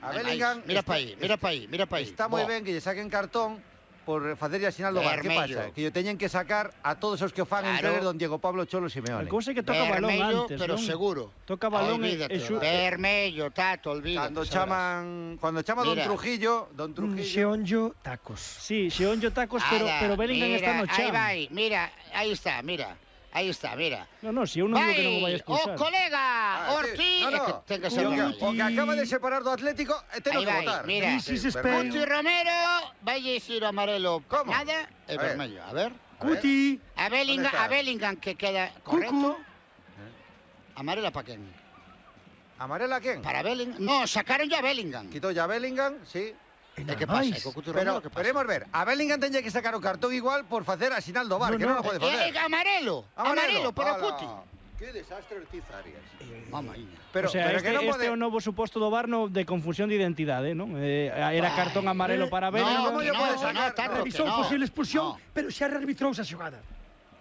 A Bellingham... Mira para aí. Está moi ben que lle saquen cartón por facerlle a sinal do bar. Que pasa? Que lle teñen que sacar a todos os que o fan entre don Diego Pablo Cholo Simeone. A cousa é que toca balón antes, pero non? seguro. Toca balón Vermello, Tato, olvídate. Cando chama don Trujillo... Xeonllo tacos. Sí, Xeonllo tacos, pero Bellingham está no chan. Aí vai, mira, aí está. No, si eu non digo que non o vai expulsar. O colega Ortiz, ten que ser o que acaba de separar do Atlético, ten que votar. Mira, Cuti Romero vai dicir o amarelo. Como? Nada, é vermello. A ver. Cuti. A Bellingham que queda correcto. Amarela para quen? Amarela a quen? Para Bellingham. No, sacaron ya a Bellingham. Quitó ya a Bellingham, sí. E que pasa? Pero queremos ver, a Bellingham teña que sacar o cartón igual por facer a sinal do bar, que non o pode facer. Amarelo, pero Cuti. Que desastre Ortiz Arias. Mamma mía. O sea, este é o novo suposto do bar de confusión de identidade, non? Era cartón amarelo para Bellingham. Como lle pode sacar? Revisou posible expulsión, pero xa rearbitrou esa xogada.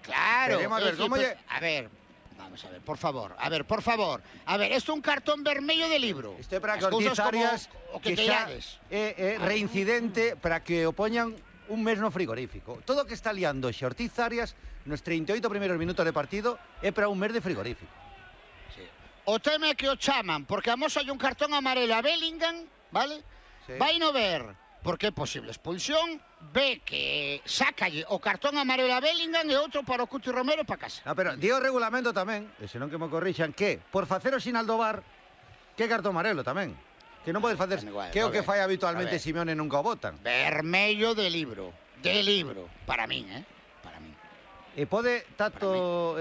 Claro. Queremos ver, como lle... A ver, vamos a ver, por favor. A ver, esto é un cartón vermello de libro. Isto é para que Ortiz Arias, que xa é reincidente, para que o poñan un mes no frigorífico. Todo o que está liando xe Ortiz Arias nos 38 primeiros minutos de partido é para un mes de frigorífico. Sí. O tema é que o chaman, porque a moza hai un cartón amarelo a Bellingham, vale? Sí. Vai no ver, porque é posible expulsión, ve que sácalle o cartón amarelo a Bellingham e outro para o Cuti Romero para casa. No, pero di o regulamento tamén, e senón que me corrixan, que por facer o sinal do bar, que cartón amarelo tamén. Que non podes facer, que é o que fai habitualmente Simeone nunca o botan. Vermello de libro, para min, para min. E pode Tato,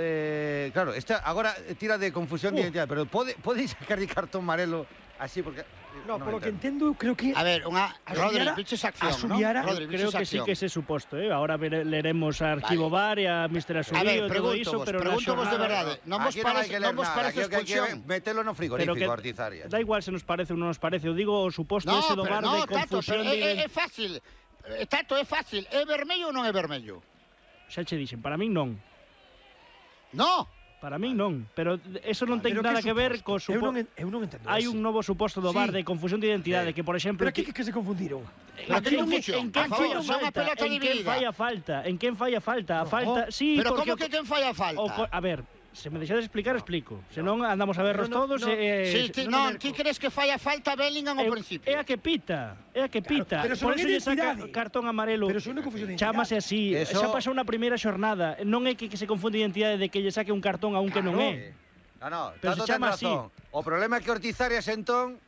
claro, agora tira de confusión de identidade, pero pode sacar de cartón amarelo así porque... No, por lo que entendo, creo que... A ver, Rodri, piches acción, ¿no? Rodri, creo que sí que ese suposto, Ahora leremos a Arquivo Bar e a Mr. Asubío e todo iso, pero preguntamos de verdade. Non vos parece expulsión? Metelo no frigorífico, Ortiz Arias. Da igual se nos parece ou non nos parece, eu digo o suposto ese do bar de confusión de... É fácil, Tato, é fácil. É vermello ou non é vermello? Xa che dixen, para min non. No! Para min non, pero eso non ten nada que ver co suposto. Eu non entendo. Hai un novo suposto do bar de confusión de identidade que, por exemplo... Pero que se confundiron? En quen fai a falta? En quen fai a falta? A falta... Sí, pero como que quen fai a falta? A ver, se me deixades explicar, explico. Se non, andamos a vernos todos... Non, ti crees que fai a falta Bellingham ao principio? É a que pita. Por eso lle saca cartón amarelo. Pero se non confusión de identidade. Chámase así. Xa pasou na primeira xornada. Non é que se confunde a identidade de que lle saque un cartón a un que non é. No, pero se chama así. O problema é que Ortiz Arias entón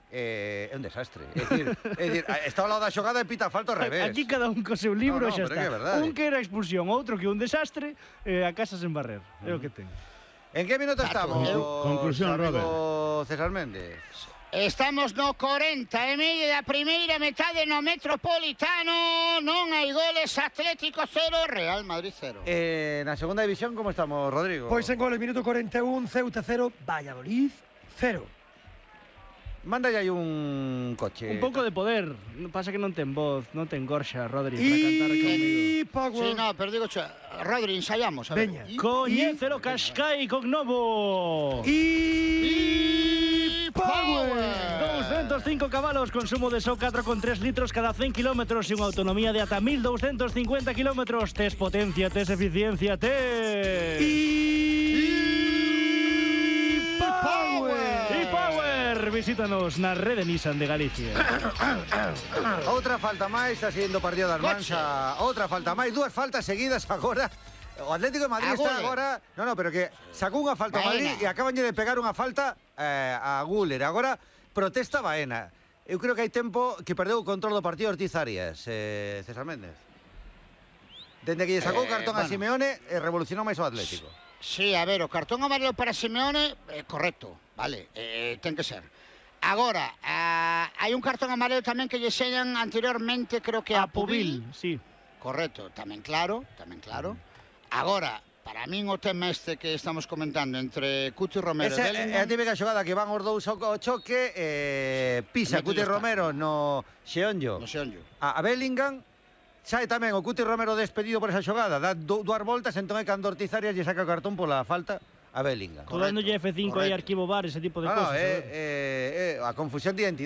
é un desastre. É dicir, está ao lado da xogada e pita falta ao revés. Aquí cada un co seu libro xa está. Un que era expulsión, outro que un desastre, a casa sen barrer. É o que ten. En que minuto estamos? Conclusión, Robert. César Méndez. Estamos no 40 e medio da primeira metade no Metropolitano. Non hai goles, Atlético 0, Real Madrid 0. Na segunda división, como estamos, Rodrigo? Pois en goles, minuto 41, Ceuta 0, Valladolid 0. Mándale aí un coche. Un pouco de poder. Pasa que non ten voz, non ten gorxa, Rodri, para cantar comigo. Power. Sí, no, pero digo, Rodri, ensayamos. A ver. Veña. Coñécelo Cascai Cognovo. Power. 205 cabalos, consumo de só 4,3 litros cada 100 kilómetros e unha autonomía de ata 1250 kilómetros. Tes potencia, tes eficiencia, tes... Visítanos na rede Nissan de Galicia. Outra falta máis, está siguiendo o partido da Almansa. Outra falta máis, dúas faltas seguidas agora. O Atlético de Madrid está agora... No, pero que sacou unha falta a Madrid e acaban de pegar unha falta a Güler. Agora protesta Baena. Eu creo que hai tempo que perdeu o control do partido Ortiz Arias, César Méndez. Dende que lle sacou o cartón a Simeone, revolucionou máis o Atlético. Sí, a ver, o cartón amarelo para Simeone, correcto, vale, ten que ser. Agora, hai un cartón amarelo tamén que lle señan anteriormente, creo que a Pubil. Sí. Correcto, tamén claro. Agora, para min o tema este que estamos comentando entre Cuti Romero e Bellingham... É a típica xogada que van os dous ao choque, pisa Cuti Romero no Xeonllo. A Bellingham, sai tamén o Cuti Romero despedido por esa xogada, dá dúas voltas, entón é cando Ortiz Arias lle saca o cartón pola falta a Bellingham. Tú dándolle F5 aí, arquivo bar, ese tipo de cosas. A confusión de identidade.